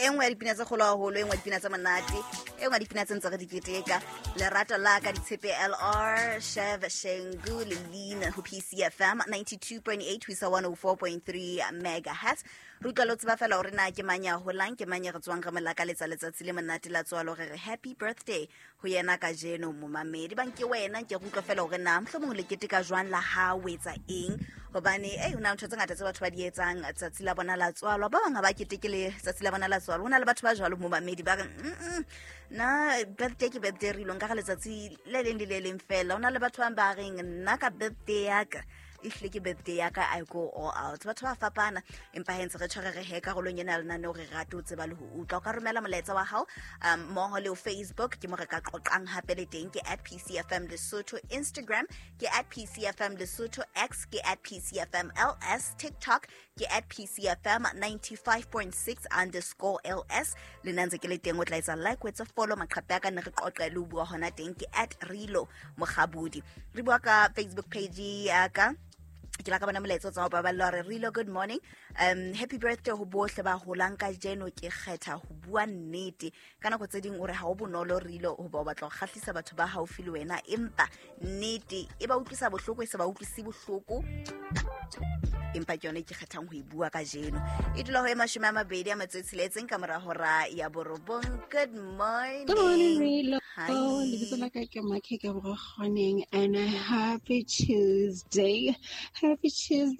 E nngwe ya dipina tse kgolo haholo, e nngwe ya dipina tse monate, e nngwe ya dipina tse ntse re di keteka. Lerato la ka ditshepe LR, Shev Shengu le Lean ho PCFM 92.8 ho isa 104.3 megahertz. Re utlwa le ho tseba fela hore na ke mang ya holang, ke mang ya re tswang re mo lakaletsa letsatsi le monate la tswalo, re re happy birthday ho yena kajeno momamedi. Bang ke wena, ke re utlwa fela hore na mohlomong le keteka jwang la ha o etsa eng, hobane ei ho na le ntho tse ngata tse batho ba di etsang tsatsi la bona la tswalwa. Ba bang ha ba keteke le tsatsi la bona la tswalwa. Ho na le batho ba jwalo momamedi ba re mm nna birthday ke birthday, re ilo nka ka letsatsi le leng le le leng fela. Ho na le batho bang ba reng nna ka birthday ya ka ehlile ke birthday ya ka, I go all out. Batho ba fapana, empa he ntse re tshware re he karolong ena ya lenaneo, re rate ho tseba le ho utlwa. O ka romela molaetsa wa hao mmoho le ho Facebook, ke mo re ka qoqang hape le teng, ke at PCFM Lesotho. Instagram ke at PCFM Lesotho, X ke at PCFM LS, TikTok ke at PCFM 95.6 underscore LS. Le nna ntse ke le teng, o tla etsa like, o etse follow maqhape a ka, ne re qoqe le ho bua hona teng, ke at Rilo Mokgabudi. Re bua ka Facebook page ya ka, ke la ka bona molaetsa o tswa ho baballa hore Rilo, good morning, happy birthday ho bohle ba holang kajeno. Ke kgetha ho bua nnete ka nako tse ding, o re ha o bonolo Rilo hoba o batla ho kgahlisa batho ba haufi le wena, empa nnete e ba utlwisa bohloko, e se ba utlwise bohloko, empa ke yone ke kgethang ho e bua kajeno. E dula ho e 26 ka mora hora ya 9. Good morning. Good morning, Rilo. Hi. Lebitso la ka ke Makhe ke Borokgoneng, and a happy Tuesday. Happy Tuesday.